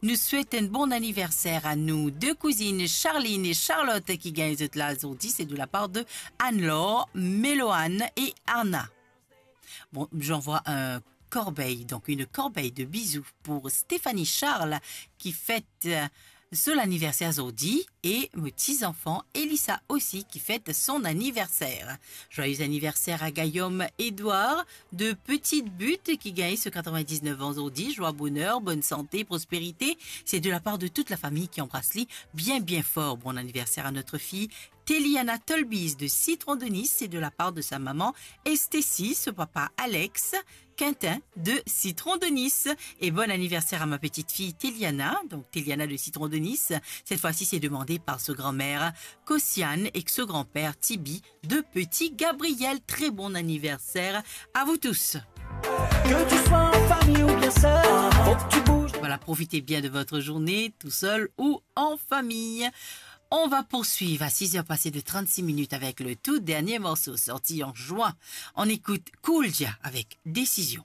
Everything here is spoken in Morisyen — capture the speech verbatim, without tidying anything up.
Nous souhaitons un bon anniversaire à nos deux cousines, Charline et Charlotte, qui gagnent zot la zordi. C'est de la part de Anne-Laure, Méloane et Anna. Bon, j'envoie un corbeille, donc une corbeille de bisous pour Stéphanie Charles, qui fête, euh, son anniversaire zordi, et mon petit-enfant Elissa aussi, qui fête son anniversaire. Joyeux anniversaire à Guillaume Édouard de Petite Butte, qui gagne ses quatre-vingt-dix-neuf ans zordi. Joie, bonheur, bonne santé, prospérité. C'est de la part de toute la famille qui embrasse lui bien, bien fort. Bon anniversaire à notre fille Teliana Tolbiz de Citron de Nice, c'est de la part de sa maman Estécie, son papa Alex, Quentin de Citron de Nice. Et bon anniversaire à ma petite fille Teliana, donc Teliana de Citron de Nice. Cette fois-ci, c'est demandé par sa grand-mère Kosiane et son grand-père Tibi de Petit Gabriel. Très bon anniversaire à vous tous. Que tu sois en famille ou bien seul, faut que tu bouges. Voilà, profitez bien de votre journée, tout seul ou en famille. On va poursuivre à six heures passées de trente-six minutes avec le tout dernier morceau sorti en juin. On écoute Cool Jah avec Décision.